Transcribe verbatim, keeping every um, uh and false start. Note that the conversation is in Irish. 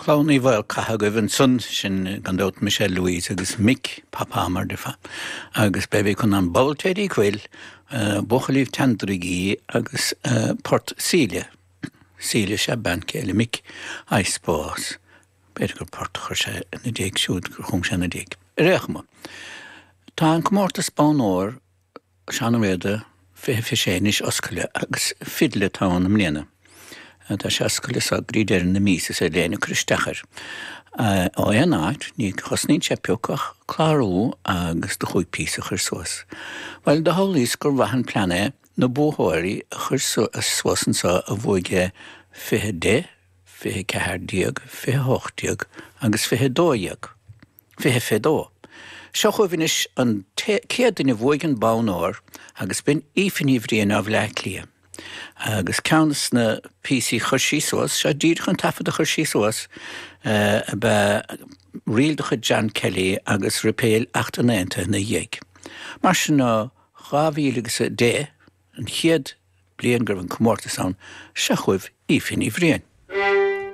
Clann Uí Mhaolchatha agaibh ansan, sin gan dabht Michelle Louise agus Mick Papa mar déarfá, agus b'é chun an Bhailte Cuil, Buachaillíbh Tandragee agus Port Síle. Síle sé bean chéile Mick, I suppose. B'fhéidir gur port a chuir sé ina diaidh siúd gur chum sé ina diaidh. Ar aon chuma, tá an comórtas Bonn Óir Seán Ó Riada fiche fiche sé anois oscailte agus fidil atá ann i mbliana. Tá sé oscailte so go dtí deireadh na míosa is féidir le éinne cur isteach air. Ó aon áit, ní chosnaíonn sé pioc ach clárú agus do chúig píosa a chur suas. Bhuel, do shamhlaíos gur mhaith an plean é na buathóirí a chur suas anseo a bhuaigh fiche deich, fiche ceathair déag, fiche hocht déag agus fiche dó dhéag. Fiche fiche dó. Seo chugaibh anois an chéad duine a bhuaigh an bonn óir agus b'in Aoife Ní Bhriain ó Bhleá Cliath. Agus ceann de na píosaí a chuir sí suas, seo díreach an taifead a chuir sí suas, ab ea ríl de chuid John Kelly agus Repeal Acht an Aontaithe ina dhiaidh. Mar sin ó dhá mhíle agus a deich, an chéad bliain go raibh an comórtas ann, seo chugaibh Aoife Ní Bhriain.